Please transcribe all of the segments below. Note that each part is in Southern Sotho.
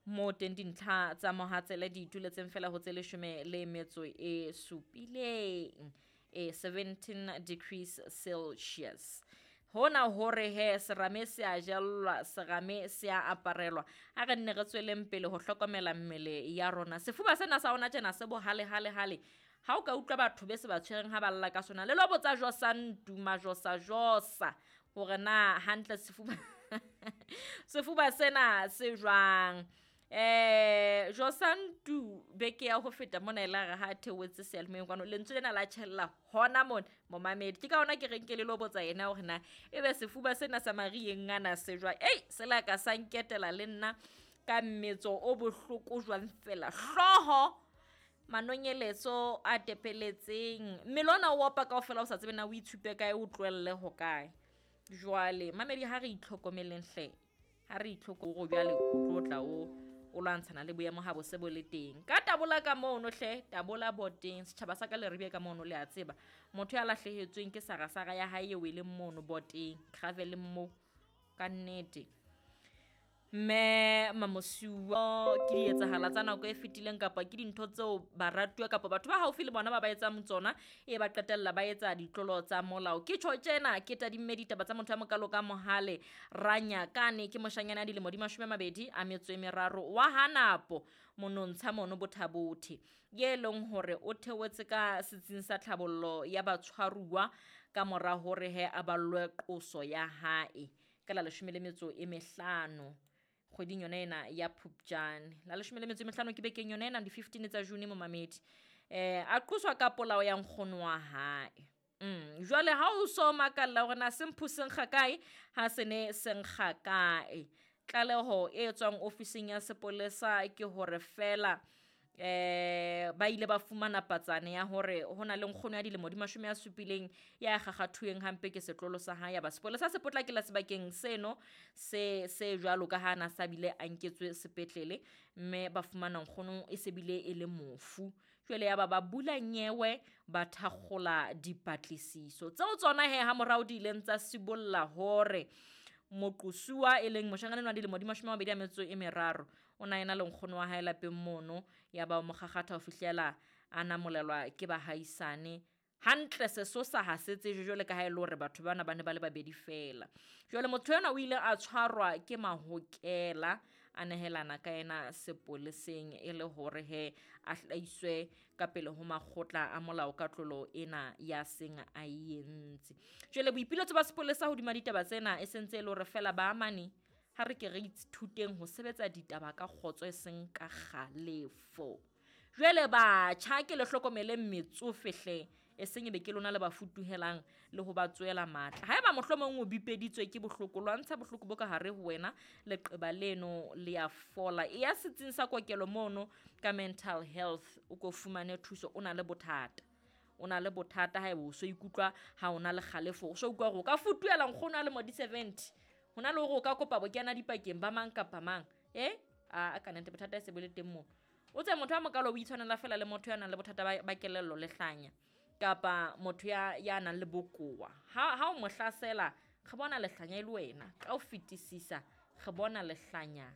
Mo teng dintlha tsa mohatsele di ituletseng fela ho tse 17, e 17 degrees Celsius. Hona hore he serame se a jellwa, serame se a aparelwa. Ha re nne re tsweleng pele ho hlokomela mmele ya rona. Sefuba sena sa hona tjena se bohale hale hale. Ha o ka utlwa batho be se ba tshwereng ha ba lla ka sona, le lo botsa Josa Ntuma, Josa Josa hore na hantle sefuba sefuba sena se jwang. Josa Ntu beke ya ho feta mona e la re ha theohetse seyalemoyeng kwano, lentswe lena la tjhella hona mona momamedi. Ke ka hona ke reng ke le lo botsa yena hore na ebe sefuba sena sa marieng ana se jwang. Ei, se la ka sa nketela le nna ka mmetso o bohloko jwang fela. Hlooho, manonyeletso a tepeletseng, mmele ona o opa kaofela o sa tsebe na o itshupe kae, o tlohelle ho kae. Jwale mamedi, ha re itlhokomeleng hle, ha re itlhoko jwale o tlo tla o lwantshana le boemo ha bo se bo le teng. Ka tabola ka mono hle, tabola boteng, setjhaba sa ka le ribie ka mono, le a tseba. Motho ya lahlehetsweng ke sarasara ya hae eo e leng mono boteng, gravel mo ka nnete. Mme Mamosiwa, ke di etsahala tsa nako e fetileng kapa ke dintho tseo baratuwa kapa batho ba haufi le bona ba ba etsang tsona, e ba qetella ba etsa ditlolo tsa molao. Ke tjho tjena ke tadimme ditaba tsa motho ya mokalo ka Mohale Ranyakane, ke moshanyana ya dilemo di 23 wa Hanapo monontsha mono Bothabothe, ye leng hore o theohetse ka setsing sa tlhabollo ya batshwaruwa ka mora hore he a ballwe qoso ya hae ka la 15 kgweding yona ena ya Phupjane. La 15 ke bekeng yona ena, di 15 tsa June momamedi. A qoswa ka polao ya nkgono wa hae. Jwale ha o so makalla hore na se mphu se nkga kae, ha se ne se nkga kae. Tlaleho e tswang ofising ya sepolesa ke hore fela ba ile ba fumana patsane ya hore ho na le nkgono ya dilemo di 70 ya kgakgathuweng hampe ke setlolo sa hae. Ya ba sepolesa se potlakela sebakeng seno se jwalo ka ha na sa bile a nketswe sepetlele, mme ba fumana nkgono e se bile e le mofu. Jwale ya ba bula nyewe, ba thakgola dipatlisiso tseo tsona he ha morao di ileng tsa sibolla hore moqosuwa e leng moshanyana wa dilemo di 23 o na ena le nkgono wa hae lapeng mono, ya ba mo kgakgatha ho fihlela a namolelwa ke bahaisane. Hantle sesosa ha se tsejwe jwale ka ha e le hore batho bana ba ne ba le babedi fela. Jwale motho enwa o ile a tshwarwa ke mahokela, a nehelana ka yena sepoleseng e le hore he a hlahiswe ka pele ho makgotla a molao ka tlolo ena ya seng a e entse. Jwale boipiletso ba sepolesa hodima ditaba tsena e sentse e le hore fela ba amane, ha re ke re ithuteng ho sebetsa ditaba ka kgotso e seng ka kgalefo. Jwale batjha ke le hlokomele metsofe hle, e seng e be ke lona le ba futuhelang le ho ba tswela matla. Haeba mohlomong o bipeditswe ke bohloko, lwantsha bohloko bo ka hare ho wena, leqeba leno le ya fola. E ya setsing sa kokelo mono ka mental health, o ko fumane thuso. O na le bothata, o na le bothata haeba o so ikutlwa ha o na le kgalefo, o so utlwa hore o ka futuhela nkgono a lemo di 70, ho na le hore o ka kopa bokena dipakeng ba mang kapa mang. A ka nnete bothata e se bo le teng moo. O tse motho ya mokalo o itshwanela fela le motho ya nang le bothata ba kelello le hlanya, kapa motho ya nang le bokowa. Ha o mo hlasela, re bona lehlanya e le wena. Ka ho fetisisa, re bona lehlanya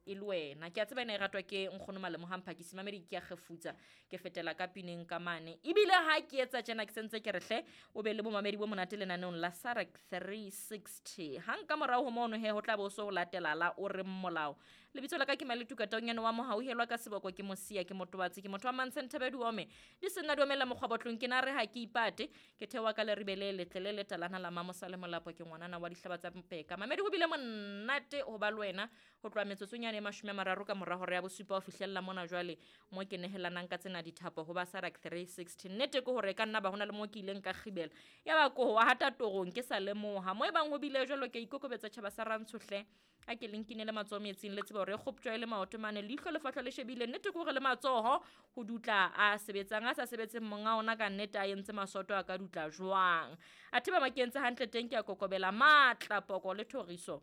e le wena. Ke a tseba ena e ratwa ke nkgono Malemo ha Mphakisi. Mamedi ke a kgefutsa, ke fetela ka pineng ka mane. Ebile ha ke etsa tjena ke sentse ke re hle o be le bomamedi bo monate lenaneong la SADC 360. Hang ka morao ho mono he ho tla bo so ho latela la o reng molao. Lebitso la ka ke Maletuka Taonyane wa Mohauhelwa ka seboko ke Mosia, ke Motobatsi, ke motho wa Mantshe Nthebe Diome. Di senna diomela mokgwa botlong, ke na re ha ke ipate, ke theoha ka leribe le letle le letalana la Mamosa le Molapo, ke ngwanana wa dihlaba tsa Mpeka. Mamedi ho bile monate ho ba le wena ho tloha metsotsong ya 30 ka mora hora ya bosupa ho fihlella mona jwale mo ke nehelanang ka tsena dithapo ho ba SADC 360. Nnete ke hore ka nna ba hona le mo ke ileng ka kgibela, ya ba ko wa hata torong ke sa lemoha. Mo e bang ho bile jwalo ke ikokobetsa tjhaba sa Rantsho hle, a ke le nkinele matsoho metsing, le tsebe hore e kgoptjwa e le maoto mane, leihlo le fahla le shebile. Nnete ke hore le matsoho ho dutla a sebetsang, a sa sebetseng monga ona ka nnete a entse masoto a ka dutla jwang. Athe ba makentse hantle teng ke a kokobela matla poko le thoriso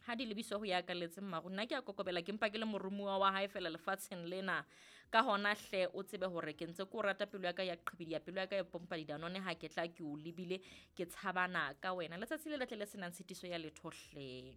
ha di lebiswa ho ya kaletseng maru. Nna ke a kokobela, ke mpa ke le moromuwa wa hae fela lefatsheng lena. Ka hona hle o tsebe hore ke ntse ke o rata, pelo ya ka ya qhibidia, pelo ya ka ya pompa didanone ha ke tla ke o lebile, ke tshabana ka wena. Letsatsi le letle le senang tshitiso ya letho hle.